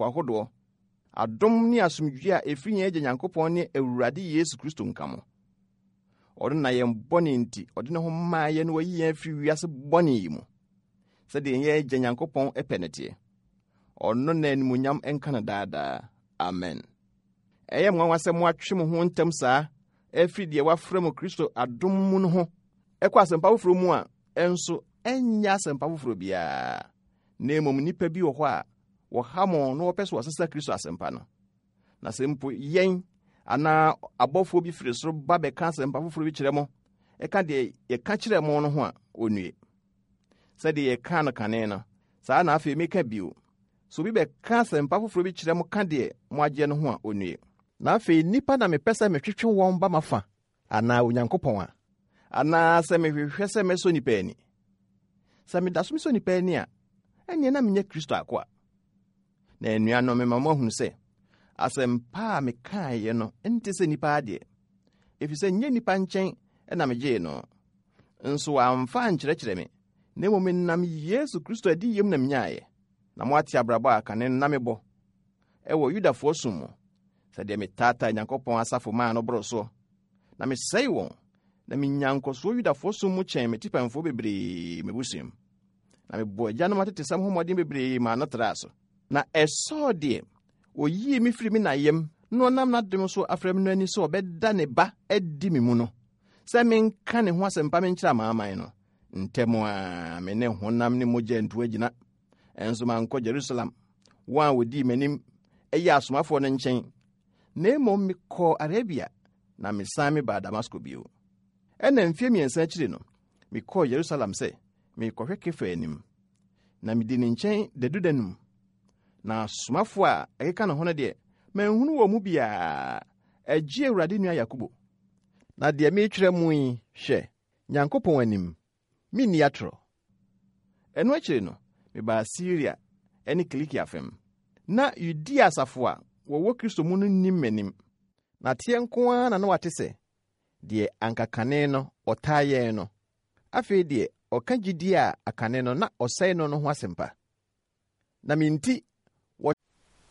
ahodoɔ, adom ne asomdwoeɛ a ɛfiri yɛn Agya Nyankopɔn ne Awurade Yesu Kristo nka mo. Ɔno na yɛn bɔne nti, ɔde ne ho maa yɛn na wayi yɛn afiri wiase bɔne yi mu, sɛdeɛ yɛn Agya Nyankopɔn pɛ no teɛ. Ɔno na animuonyam nka no daadaa. Amen. Ɛyɛ nwanwa sɛ moatwe mo ho ntɛm saa afiri deɛ wɔafrɛ mo Kristo adom mu no ho ɛkɔ asɛmpa foforɔ mu a ɛnso ɛnyɛ asɛmpa foforɔ biara, na mmom nnipa bi wɔ hɔ a wɔha mo na wɔpɛ sɛ wɔsesa Kristo asɛmpa no. Na sɛ mpo yɛn anaa abɔfoɔ bi firi soro ba bɛka asɛmpa foforɔ bi kyerɛ mo, ɛka deɛ yɛka kyerɛ mo no ho a, ɔnnue. Sɛdeɛ yɛkaa no kane no, saa na afei meka bio. Sɛ obi bɛka asɛmpa foforɔ bi kyerɛ mo ka deɛ moagyeɛ no ho a, ɔnnue. Na afei nnipa na mepɛ sɛ metwetwe wɔn ba m'afa, anaa Onyankopɔn a? Anaa sɛ mehwehwɛ sɛ mɛsɔ nnipa ani? Sɛ meda so mesɔ nnipa ani a, ɛnneɛ na menyɛ Kristo akoa. Na anuanom, mema moahunu sɛ asɛmpa a mekaeɛ no nte sɛ nnipa adeɛ, ɛfiri sɛ nyɛ nnipa nkyɛn na megyee no, nso wɔamfa ankyerɛkyerɛ me, na mmom menam Yesu Kristo adiyiem na menyaeɛ. Na moate abrabɔ a kane no na mebɔ ɛwɔ Yudafoɔ som mu, sɛdeɛ metaataa Nyankopɔn asafo maa no boro soɔ, na mesɛe wɔn, na menya nkɔsoɔ Yudafoɔ som mu kyɛn me tipɛnfoɔ bebree m'abusua mu. Na mebɔɔ agyanom atetesɛm ho mmɔden bebree maa no traa so. Na ɛsɔɔ deɛ ɔyii me firi me na yam na ɔnam n'adom so afrɛ me no ani sɛ ɔbɛda ne ba adi me mu no, sɛ menka ne ho asɛmpa menkyerɛ amanaman no. Ntɛm ara me ne honam ne mogya antu agyina, ɛnso mankɔ Jerusalem, wɔn a wɔdii m'anim yɛ asomafoɔ no nkyɛn, na mmom mekɔɔ Arabia na mesan mebaa Damasko bio. Ɛnna mfeɛ mmiɛnsa akyiri no, mekɔɔ Yerusalem sɛ merekɔhwɛ Kefa anim, na medi ne nkyɛn dadu danum. Na asomafoɔ a ɛkeka ne ho no deɛ, manhunu wɔn mu biara, agye Awurade nua Yakobo. Na deɛ meretwerɛ mo yi, hwɛ, Nyankopɔn anim, menni atorɔ. Ɛno akyiri no, mebaa Siria ne Kilikia fam. Ná Yudea asafo a wɔwɔ Kristo mu no nnim m'anim, na teɛ nko ara na na wɔate sɛ, deɛ anka kane no ɔtaa yɛn no, afei deɛ ɔka gyidie a akane no na ɔsɛe no no ho asɛmpa. Na me nti, wɔ.